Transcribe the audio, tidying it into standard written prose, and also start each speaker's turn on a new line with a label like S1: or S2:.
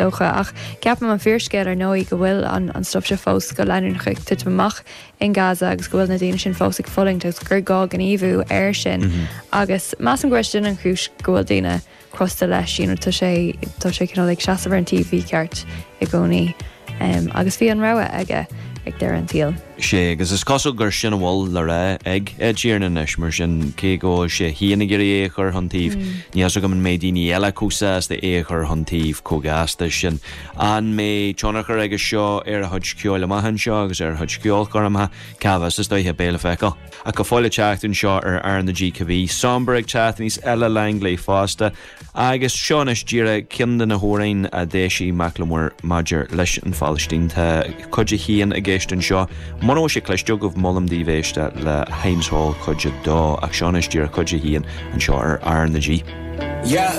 S1: Dócha. Ach ceapaim an fíorscéal ar ndóigh go bhfuil an stuif seo fós go leanúnach ag titim amach in Gaza agus go bhfuil na daoine sin fós ag fulaingt agus gur gá gníomhú air sin. Agus measaim go bhfuil sin an chúis go bhfuil daoine crosta leis, you know, tá sé tá sé cineál ag seasamh ar an taobh mhícheart i gcónaí. Agus bhí an rogha aige ag deireadh an tsaoil.
S2: Sea, agus is cosúil gur sin a bhfuil le rá ag Ed Sheeran anois, mar sin, cé go bhfuil sé féin ag iarraidh é a chur chun taobh, níl fhios agam an mbeidh daoine eile chomh sásta é a chur chun taobh chomh gasta sin. An mbeidh tionchar aige seo ar a chuid ceoil amach anseo agus ar a chuid ceolchoirmeacha? Cá bhfios, is dóiche, beidh le feiceáil. Ach go fóill ag teacht anseo ar R na G cibé, Sombre ag teacht aníos, Ella Langley fosta. Agus seo anois díreach ceann de na hamhráin a d'eisigh Macklemore maidir leis an Phalaistín. Tá cuid a haon i gceist anseo. Muna bhfuil sé cloiste agaibh, molaim daoibh éisteacht le Heinz Hall cuid a dó, ach seo anois díreach cuid a haon anseo ar R na G.
S3: Yeah.